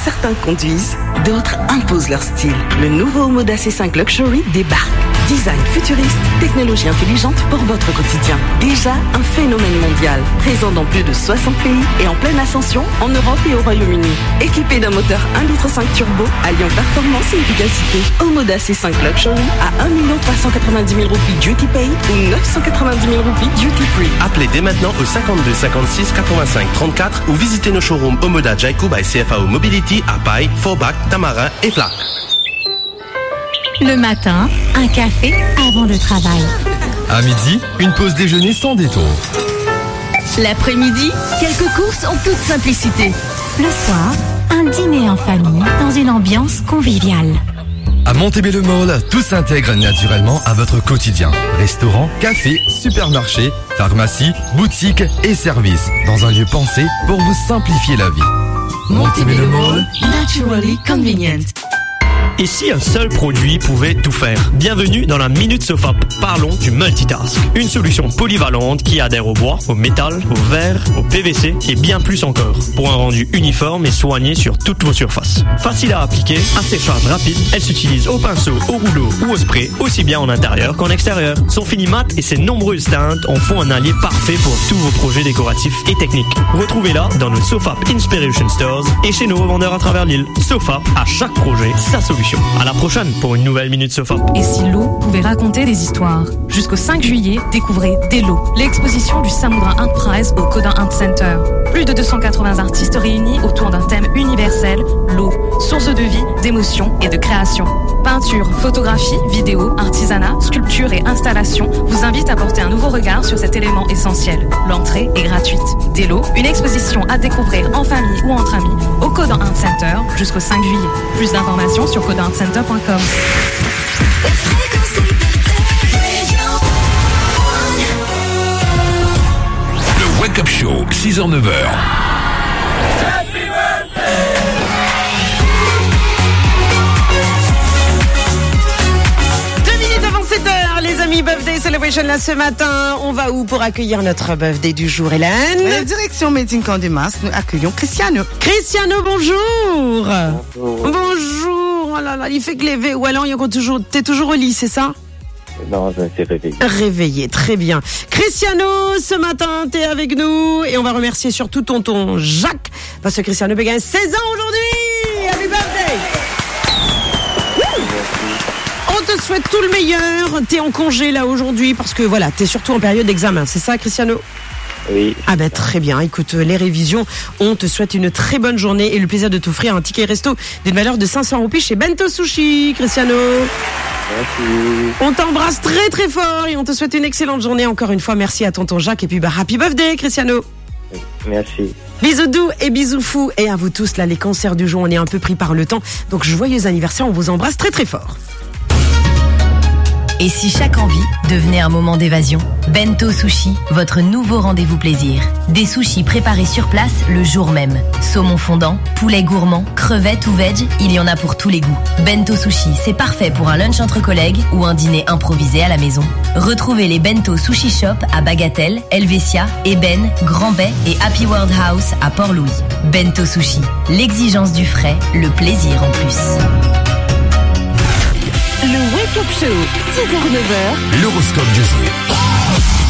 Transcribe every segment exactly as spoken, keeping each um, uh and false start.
Certains conduisent, d'autres imposent leur style. Le nouveau Omoda C cinq Luxury débarque. Design futuriste, technologie intelligente pour votre quotidien. Déjà un phénomène mondial, présent dans plus de soixante pays et en pleine ascension en Europe et au Royaume-Uni. Équipé d'un moteur un litre cinq turbo, alliant performance et efficacité, Omoda C cinq Luxury à un million trois cent quatre-vingt-dix mille roupies duty paid ou neuf cent quatre-vingt-dix mille roupies duty free. Appelez dès maintenant au cinquante-deux cinquante-six quatre-vingt-cinq trente-quatre ou visitez nos showrooms Omoda, Jaiku by C F A O Mobility à Paille, Forbach, Tamarin et Flacq. Le matin, un café avant le travail. À midi, une pause déjeuner sans détour. L'après-midi, quelques courses en toute simplicité. Le soir, un dîner en famille dans une ambiance conviviale. À Montebello Mall, tout s'intègre naturellement à votre quotidien. Restaurant, café, supermarché, pharmacie, boutique et services, dans un lieu pensé pour vous simplifier la vie. Montebello Mall, naturally convenient. Et si un seul produit pouvait tout faire ? Bienvenue dans la Minute Sofap. Parlons du multitask. Une solution polyvalente qui adhère au bois, au métal, au verre, au P V C et bien plus encore, pour un rendu uniforme et soigné sur toutes vos surfaces. Facile à appliquer, à séchage rapide, elle s'utilise au pinceau, au rouleau ou au spray, aussi bien en intérieur qu'en extérieur. Son fini mat et ses nombreuses teintes en font un allié parfait pour tous vos projets décoratifs et techniques. Retrouvez-la dans nos Sofap Inspiration Stores et chez nos revendeurs à travers l'île. Sofap, à chaque projet, sa solution. À la prochaine pour une nouvelle Minute Sofap. Et si l'eau pouvait raconter des histoires ? Jusqu'au cinq juillet, découvrez Delo, l'exposition du Samudra Art Prize au Codin Art Center. Plus de deux cent quatre-vingts artistes réunis autour d'un thème universel, l'eau, source de vie, d'émotion et de création. Peinture, photographie, vidéo, artisanat, sculpture et installation vous invitent à porter un nouveau regard sur cet élément essentiel. L'entrée est gratuite. Delo, une exposition à découvrir en famille ou entre amis au Codin Art Center jusqu'au cinq juillet. Plus d'informations sur codin art center point com. Le Wake Up Show, six heures, neuf heures. Deux minutes avant sept heures, les amis, birthday celebration là ce matin. On va où pour accueillir notre birthday du jour, Hélène ? Euh, direction Made in Camp des Masques, nous accueillons Cristiano. Cristiano, bonjour. Bonjour. Bonjour. Oh là là, il fait que lever. Ou alors, il est encore toujours, t'es toujours au lit, c'est ça ? Non, je me suis réveillé. Réveillé, très bien. Cristiano, ce matin, t'es avec nous et on va remercier surtout tonton Jacques parce que Cristiano peut gagner seize ans aujourd'hui. Happy birthday. On te souhaite tout le meilleur. T'es en congé là aujourd'hui parce que voilà, t'es surtout en période d'examen. C'est ça, Cristiano ? Oui. Ah ben, très bien. Écoute, euh, les révisions, on te souhaite une très bonne journée et le plaisir de t'offrir un ticket resto d'une valeur de cinq cents roupies chez Bento Sushi, Cristiano. Merci. On t'embrasse très, très fort et on te souhaite une excellente journée. Encore une fois, merci à tonton Jacques et puis, bah, happy birthday, Cristiano. Merci. Bisous doux et bisous fous. Et à vous tous, là, les cancers du jour, on est un peu pris par le temps. Donc, joyeux anniversaire, on vous embrasse très, très fort. Et si chaque envie devenait un moment d'évasion ? Bento Sushi, votre nouveau rendez-vous plaisir. Des sushis préparés sur place le jour même. Saumon fondant, poulet gourmand, crevettes ou veg, il y en a pour tous les goûts. Bento Sushi, c'est parfait pour un lunch entre collègues ou un dîner improvisé à la maison. Retrouvez les Bento Sushi Shop à Bagatelle, Helvetia, Ében, Grand Baie et Happy World House à Port-Louis. Bento Sushi, l'exigence du frais, le plaisir en plus. Le Wake Up Show, six heures, neuf heures. L'horoscope du jour.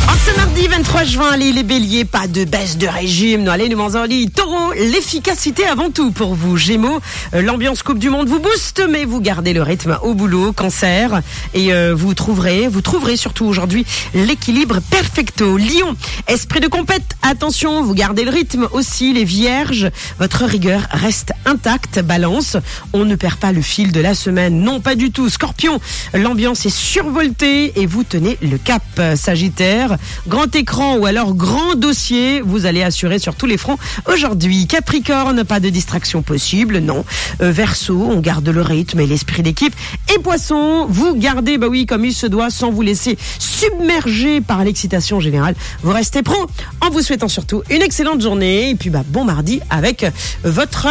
En ce mardi vingt-trois juin, les, les béliers, pas de baisse de régime. Nou ale, nou manz ali. Taureau, l'efficacité avant tout pour vous. Gémeaux, euh, l'ambiance Coupe du Monde vous booste, mais vous gardez le rythme au boulot. Cancer, et, euh, vous trouverez, vous trouverez surtout aujourd'hui l'équilibre perfecto. Lion, esprit de compète, attention, vous gardez le rythme aussi. Les vierges, votre rigueur reste intacte. Balance, on ne perd pas le fil de la semaine. Non, pas du tout. Scorpion, l'ambiance est survoltée et vous tenez le cap. Sagittaire, grand écran ou alors grand dossier, vous allez assurer sur tous les fronts aujourd'hui. Capricorne, pas de distraction possible, non. Euh, Verseau, on garde le rythme et l'esprit d'équipe. Et Poissons, vous gardez, bah oui, comme il se doit, sans vous laisser submerger par l'excitation générale. Vous restez pro. En vous souhaitant surtout une excellente journée. Et puis, bah, bon mardi avec votre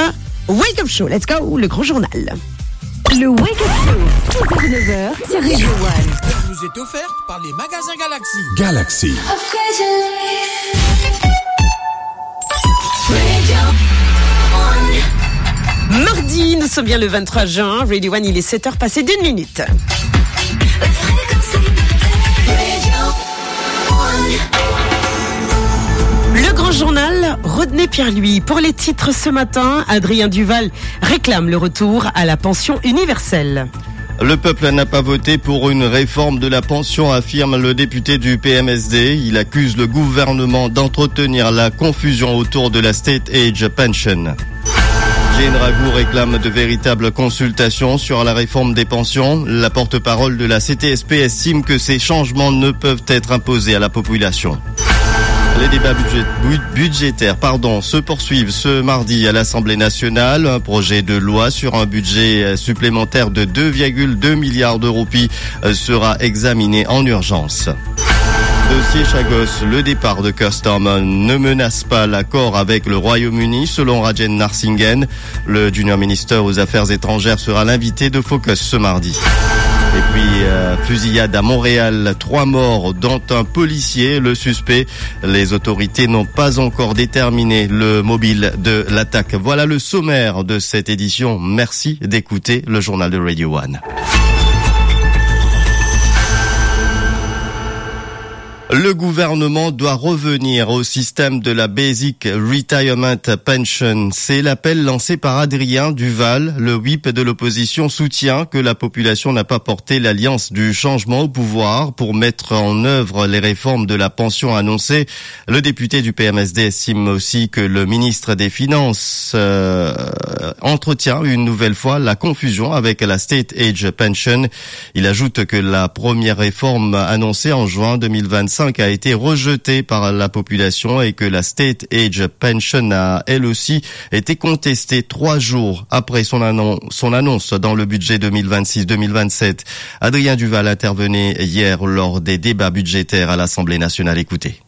Wake Up Show. Let's go, le grand journal. Le Wake Up Show, six heures, neuf heures, sur Radio One. Vous est offerte par les magasins Galaxy. Galaxy. Upgrade your life. Radio One. Mardi Nous sommes bien le vingt-trois juin, Radio One, il est sept heures passées d'une minute. Le grand journal, Rodney Pierre-Louis. Pour les titres ce matin, Adrien Duval réclame le retour à la pension universelle. Le peuple n'a pas voté pour une réforme de la pension, affirme le député du P M S D. Il accuse le gouvernement d'entretenir la confusion autour de la State Age Pension. Jane Raghu réclame de véritables consultations sur la réforme des pensions. La porte-parole de la C T S P estime que ces changements ne peuvent être imposés à la population. Les débats budgé-, bu-, budgétaires, pardon, se poursuivent ce mardi à l'Assemblée nationale. Un projet de loi sur un budget, euh, supplémentaire de deux virgule deux milliards de roupies, euh, sera examiné en urgence. Dossier Chagos, le départ de Keir Starmer ne menace pas l'accord avec le Royaume-Uni, selon Rajen Narasimhan. Le junior minister aux Affaires étrangères sera l'invité de Focus ce mardi. Et puis, euh, fusillade à Montréal, trois morts, dont un policier. Le suspect, les autorités n'ont pas encore déterminé le mobile de l'attaque. Voilà le sommaire de cette édition. Merci d'écouter le journal de Radio One. Le gouvernement doit revenir au système de la Basic Retirement Pension. C'est l'appel lancé par Adrien Duval. Le whip de l'opposition soutient que la population n'a pas porté l'Alliance du changement au pouvoir pour mettre en œuvre les réformes de la pension annoncées. Le député du P M S D estime aussi que le ministre des Finances, euh, entretient une nouvelle fois la confusion avec la State Age Pension. Il ajoute que la première réforme annoncée en juin deux mille vingt-cinq a été rejetée par la population et que la State Age Pension a, elle aussi, été contestée trois jours après son annon-, son annonce dans le budget deux mille vingt-six deux mille vingt-sept. Adrien Duval intervenait hier lors des débats budgétaires à l'Assemblée nationale. Écoutez.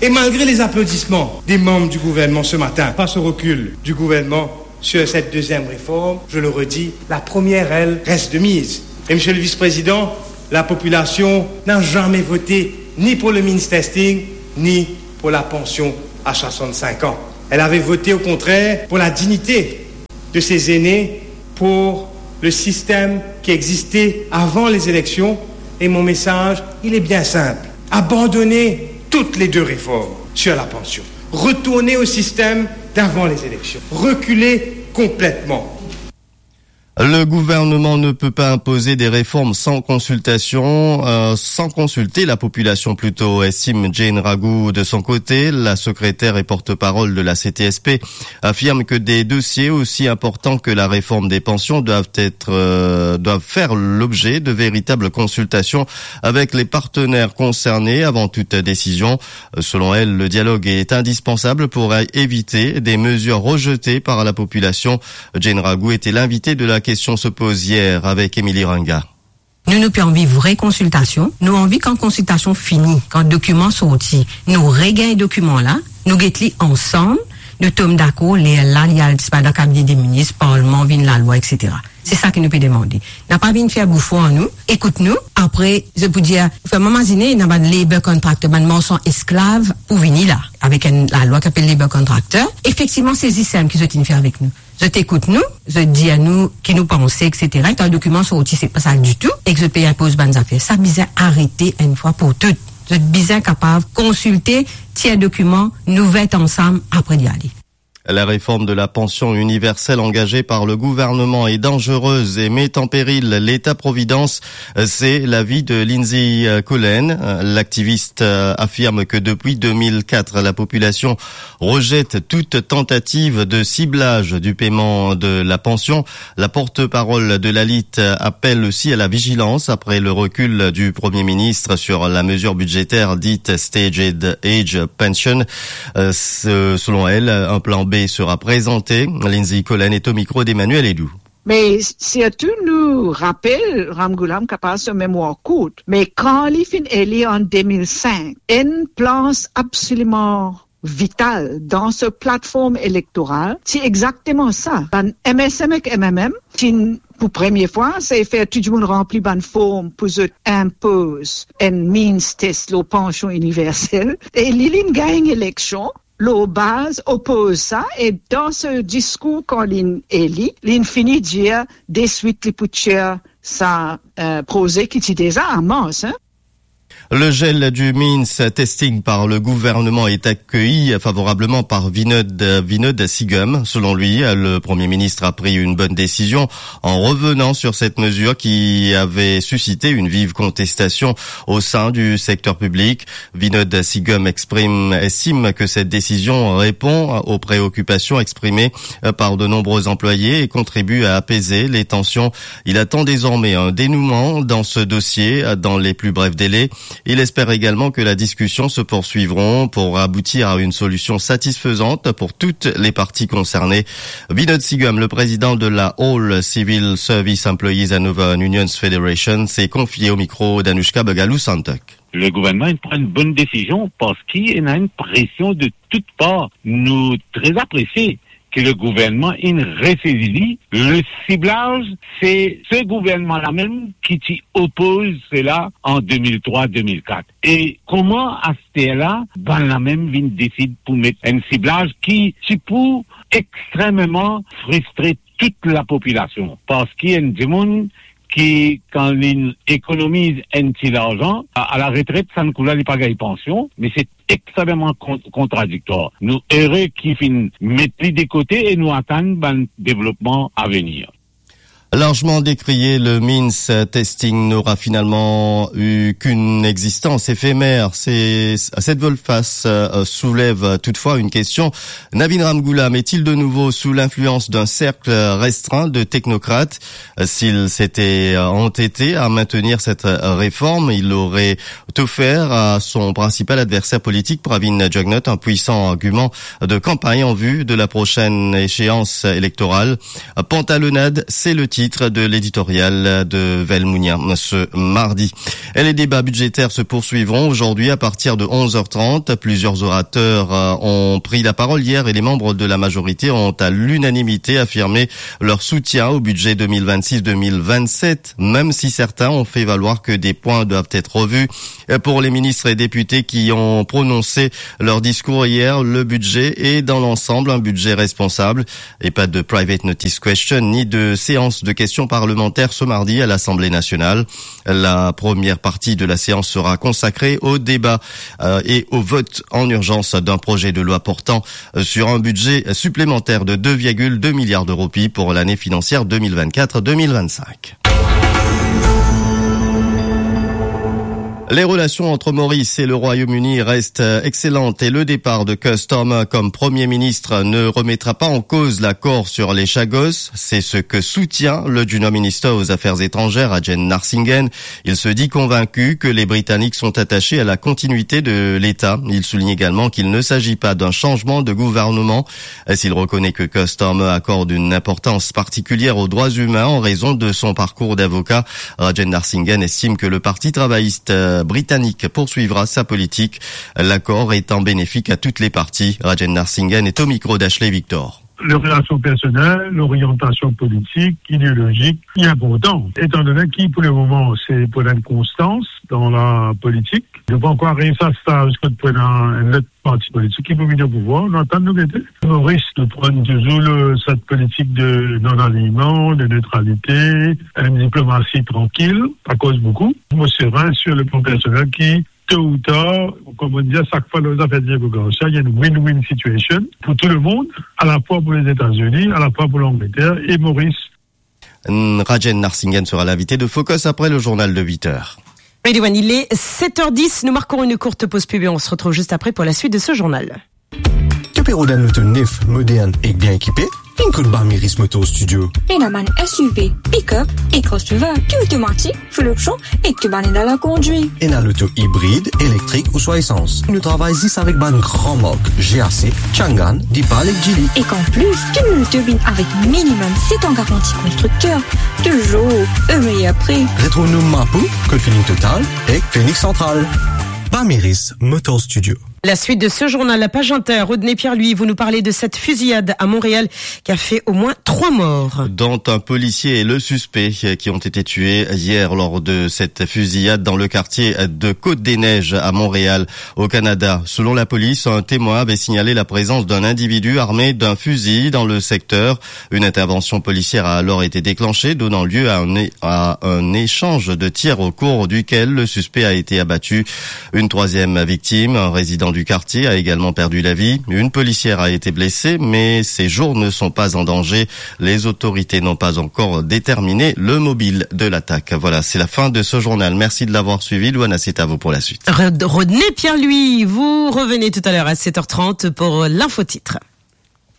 Et malgré les applaudissements des membres du gouvernement ce matin, face au recul du gouvernement sur cette deuxième réforme, je le redis, la première, elle, reste de mise. Et Monsieur le Vice-président, la population n'a jamais voté ni pour le means testing, ni pour la pension à soixante-cinq ans. Elle avait voté au contraire pour la dignité de ces aînés, pour le système qui existait avant les élections. Et mon message, il est bien simple. Abandonnez toutes les deux réformes sur la pension. Retournez au système d'avant les élections. Reculez complètement. Le gouvernement ne peut pas imposer des réformes sans consultation, euh, sans consulter la population plutôt, estime Jane Raghu de son côté. La secrétaire et porte-parole de la C T S P affirme que des dossiers aussi importants que la réforme des pensions doivent être, euh, doivent faire l'objet de véritables consultations avec les partenaires concernés avant toute décision. Selon elle, le dialogue est indispensable pour éviter des mesures rejetées par la population. Jane Raghu était l'invitée de La Question se pose hier avec Émilie Ranga. Nou, nou pe anvi vre konsiltasion. Nou anvi kan konsiltasion fini, kan dokiman sorti, nou regagn dokiman la, nou get li ansam, nou tom dakor, lerla li al disparet dan kabine de minis, parlman vinn lalwa, et cetera. Se sa ki nou pe demande. Napa vinn fer boufon ar nou, ekout nou, apre, zot pou dir, fer mwa mazine, ena bann labour contractor, bann marsan esklav pou vini la, avek enn lalwa ki apel labour contractor. Efektivman, se zis sa ki zot inn fer avek nou. Zot ekout nou, zot dir nou ki nou panse, et cetera. Kan dokiman sorti, se pa sa ditou, ek zot pe inpoz bann zafer. Sa bizin arete enn fwa pou tou. Zot bizin kapav konsilte, tir dokiman, nou vet ansam, apre li ale. La réforme de la pension universelle engagée par le gouvernement est dangereuse et met en péril l'État-providence. C'est l'avis de Lindsay Collen. L'activiste affirme que depuis deux mille quatre, la population rejette toute tentative de ciblage du paiement de la pension. La porte-parole de la L I T appelle aussi à la vigilance après le recul du Premier ministre sur la mesure budgétaire dite Staged Age Pension. Euh, ce-, selon elle, un plan B sera présenté. Lindsay Collen est au micro d'Emmanuel Edou. Me sirtou nou rapel, Ramgoolam kapav so memwar kourt, me kan li finn eli an de mil senk, enn plas absoliman vital dan so platform elektoral, ti exakteman sa. Bann M S M ek M M M ti pou premie fwa, se fer tou dimoun ranpli bann form pou zot inpoz enn means test lor pansion iniversel. E li, li gagn eleksion, lor baz opoz sa, e dan so diskour kan linn eli, linn fini dir deswit li pou tir sa, eh, proze ki ti deza an mars, hein. Le gel du means testing par le gouvernement est accueilli favorablement par Vinod, Vinod Sigum. Selon lui, le Premier ministre a pris une bonne décision en revenant sur cette mesure qui avait suscité une vive contestation au sein du secteur public. Vinod Sigum exprime, estime que cette décision répond aux préoccupations exprimées par de nombreux employés et contribue à apaiser les tensions. Il attend désormais un dénouement dans ce dossier dans les plus brefs délais. Il espère également que la discussion se poursuivront pour aboutir à une solution satisfaisante pour toutes les parties concernées. Vinod Sigum, le président de la All Civil Service Employees and Other Unions Federation, s'est confié au micro d'Anushka Bagaloo Santak. Le gouvernman inn pran enn bonn desizion parski ena enn presion de tout par. Nou tre apresie ke le gouvernman inn resezi li. Le siblaz, se se gouvernman la mem ki ti opoz sela an de mil trwa, de mil kat. E kouma aster la, bann la mem vinn desid pou met enn siblaz ki ti pou extrememan fristre tout lapopilasion, parski enn dimoun ki, kan li ekonomiz enn ti larzan, a, a laretret, sa kou la, li pa gagn pansion, me se extrememan kon-, kontradiktwar. Nou ere ki finn met li de kote e nou atann bann devlopman avenir. Largement décrié, le means testing n'aura finalement eu qu'une existence éphémère. C'est, cette volte-face, euh, soulève toutefois une question. Navin Ramgoolam est-il de nouveau sous l'influence d'un cercle restreint de technocrates ? S'il s'était entêté à maintenir cette réforme, il aurait offert à son principal adversaire politique, Pravin Jugnauth, un puissant argument de campagne en vue de la prochaine échéance électorale. Pantalonnade, c'est le titre de l'éditorial de Velmounia ce mardi. Et les débats budgétaires se poursuivront aujourd'hui à partir de onze heures trente. Plusieurs orateurs, euh, ont pris la parole hier et les membres de la majorité ont à l'unanimité affirmé leur soutien au budget deux mille vingt-six deux mille vingt-sept, même si certains ont fait valoir que des points doivent être revus. Euh, pour les ministres et députés qui ont prononcé leur discours hier, le budget est dans l'ensemble un budget responsable et pas de private notice question ni de séance de questions parlementaires ce mardi à l'Assemblée nationale. La première partie de la séance sera consacrée au débat, euh, et au vote en urgence d'un projet de loi portant, euh, sur un budget supplémentaire de deux virgule deux milliards de roupies pour l'année financière deux mille vingt-quatre deux mille vingt-cinq. Les relations entre Maurice et le Royaume-Uni restent, euh, excellentes et le départ de Keir Starmer comme Premier ministre ne remettra pas en cause l'accord sur les Chagos. C'est ce que soutient le Junior Minister aux Affaires étrangères, Rajen Narasimhan. Il se dit convaincu que les Britanniques sont attachés à la continuité de l'État. Il souligne également qu'il ne s'agit pas d'un changement de gouvernement. S'il reconnaît que Keir Starmer accorde une importance particulière aux droits humains en raison de son parcours d'avocat, Rajen Narasimhan estime que le Parti travailliste, euh, britannique poursuivra sa politique, l'accord étant bénéfique à toutes les parties. Rajen Narasimhan est au micro d'Ashley Victor. Lor relasion personel, lor oriantasion politik, ideolozik, li inportan. Etandone ki, pou lemoman, se pou ena enn konstans dan lapolitik. Nou pa ankor ariv sa staz kot pou ena enn lot parti politik ki pou vinn o pouvwar. Nou atann, nou gete. Moris, nou pran touzour le, sa politik de non-alignement, de neutralité, une diplomatie tranquille, pa koz boukou. Mo serin sur le plan personnel ki, to ou tar, kouma dir, sak fwa lor zafer Diego Garcia, il y a une win-win situation pour tout le monde, à la fois pour les États-Unis, à la fois pour l'Angleterre et Maurice. Rajen Narasimhan sera l'invité de Focus après le journal de huit heures. Ridwan, il est sept heures dix. Nous marquons une courte pause pub et on se retrouve juste après pour la suite de ce journal. To pe rod enn loto nef, modern ek bien ekipe? Vinn kot Barmeris Motor Studio. Ena bann S U V, pick-up e crossover, tou otomatik, full option, e tou bann ena lakondwit. Ena loto ibrid, elektrik ouswa esans. Nou travay zis avek bann gran mark, G A C, Changan, Deepal ek Geely. Ek an plis, tou nou loto vinn avek minimum set an garanti konstrikter. Touzour o meyer pri. Retrouv nou Mapou, kot Feeling Total, ek Phoenix Central. Barmeris Motor Studio. La suite de ce journal, la page inter, Rodney Pierre-Louis, vous nous parlez de cette fusillade à Montréal qui a fait au moins trois morts. Dont un policier et le suspect, euh, qui ont été tués hier lors de cette fusillade dans le quartier de Côte-des-Neiges à Montréal, au Canada. Selon la police, un témoin avait signalé la présence d'un individu armé d'un fusil dans le secteur. Une intervention policière a alors été déclenchée, donnant lieu à un é-, à un échange de tirs au cours duquel le suspect a été abattu. Une troisième victime, un résident du quartier, a également perdu la vie. Une policière a été blessée, mais ses jours ne sont pas en danger. Les autorités n'ont pas encore déterminé le mobile de l'attaque. Voilà, c'est la fin de ce journal. Merci de l'avoir suivi. Loana, c'est à vous pour la suite. Rod-, Rodney Pierre-Louis, vous revenez tout à l'heure à sept heures trente pour l'infotitre.